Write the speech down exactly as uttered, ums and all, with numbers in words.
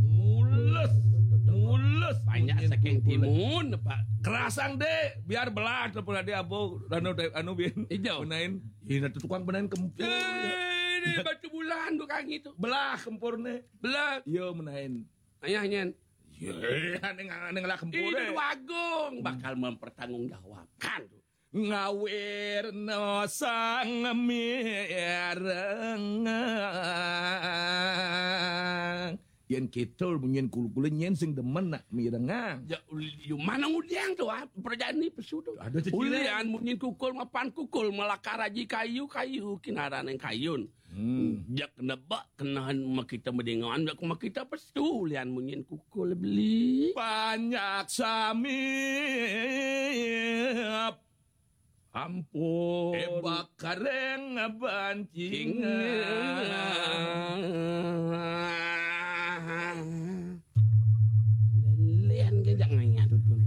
Mulus, mulus. Banyak saking timun, Pak. Kerasang, Dek, biar belah telepon ade abo anu, anu bin. Ijo. Benain. Ini tukang benain kempur. Eh, ini batu bulan tukang itu. Belah kempurne. Belah. Iya, menain. Ayah nyen. Iya, ning ning lah kempur. Ini deh. Agung bakal mempertanggungjawabkan tuh. Ngawir no sang mireng. Yen kidul munyin kul-kule nyen sing demen nak mirengang. Ya, ul- yo mana ngudiang tuh, ah, perjani pesu tuh. Ada cecilan. Ulian munyin kukul mapan kukul, malah karaji kayu-kayu kinaran yang kayun. Hmm. Jak nebak kenahan makita medingan, jak makita pesu ulian munyin kukul beli. Banyak sami. Ampun. Ebak kareng bancingan. Lian ke jangan nyadut pun.